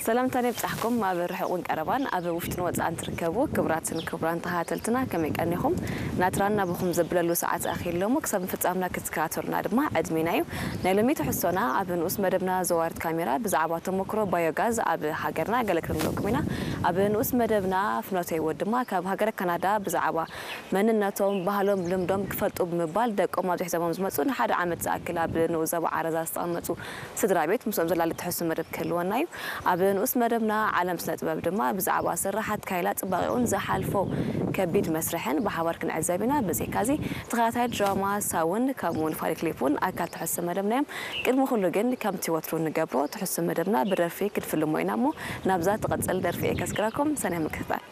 ሰላምታን ይብጻሕኩም ኣብ ርሑቕን ቀረባን ኣብ ውሽጥን ወጻእን ትርከቡ ክቡራትን ክቡራን ተኸታተልትና፣ ከመይ ቀኒኹም? ናትራን ናብኹም ዘብለሉ ሰዓት ኣኺሉ እሞ ክሳብ ፍጻምና ክትከታተሉና ድማ ዕድሜና እዩ። ናይ ሎሚ ትሕዝቶና ኣብ ንኡስ መደብና ዘዋርት ካሜራ ብዛዕባ ተሞክሮ ባዮጋዝ ኣብ ሃገርና ገለ ክንብለኩም ኢና። ኣብ ንኡስ መደብና ፍኖተ ህይወት ድማ ካብ ሃገረ ካናዳ ብዛዕባ መንነቶም፣ ባህሎም፣ ልምዶም ክፈልጡ ብምባል ደቆም ኣብዚ ሒዞሞም ዝመጹ ንሓደ ዓመት ዝኣክል ኣብ ንኡስ ዞባ ዓረዛ ዝተቐመጡ ስድራ ቤት ምስኦም ዘላሊ ትሕሱ መደብ ክህልወና እዩ። ኣብ ንኡስ መደብና ዓለም ስነ ጥበብ ድማ ብዛዕባ ስራሓት ካይላ ጽባቂኡን ዝሓልፎ ከቢድ መስርሕን ብሓባር ክንዕዘብ ኢና። ብዘይካዚ ተኸታታይ ድራማ ሳውን ከምኡ እውን ፋኒ ክሊፕ እውን ኣካል ትሕሱ መደብና እዮም። ቅድሚ ኩሉ ግን ከምቲ ወትሩ ንገብሮ ትሕሱ መደብና ብደርፊ ክንፍልሞ ኢና እሞ ናብዛ ትቐጽል ደርፊ እየ ከስግረኩም ሰኒያ ምክትታል።